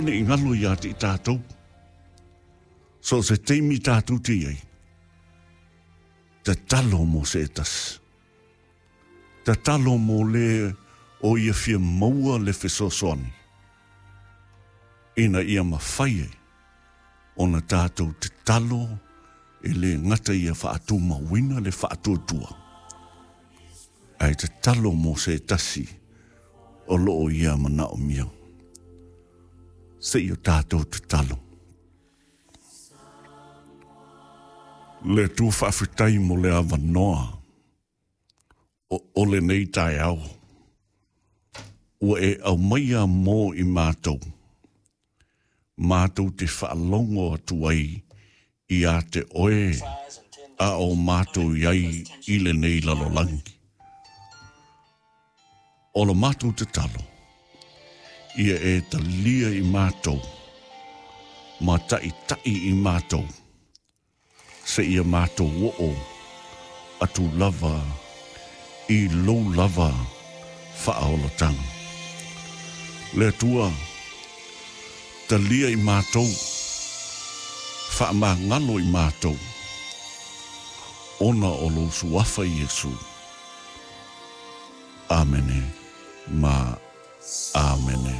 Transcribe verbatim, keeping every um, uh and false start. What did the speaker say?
ne i galo iā te i tātou. So se taimi tātou te iai, tatalo mo se e tasi. Tatalo mo le o ia fia maua le fesoasoani. Ina ia mafai ai ona tātou tatalo e le gata ia faatumauina le faatuatua. Ae tatalo mo se tasi o loo ia manaomia. Se i o tātou tatalo. Le Atua faafetai mo le avanoa o, o lenei taeao. Ua e aumaia mo i mātou. Mātou te faalogo atu ai ia te oe a o mātou iai i lenei lalolagi. O la mātou tatalo, ia e talia i mātou, ma taʻitaʻi i mātou, se ia mātou oo atu lava i lou lava faaolataga. Le Atua, talia i mātou, faamagalo i mātou, ona o lou suafa Iesu. Amene ma amene.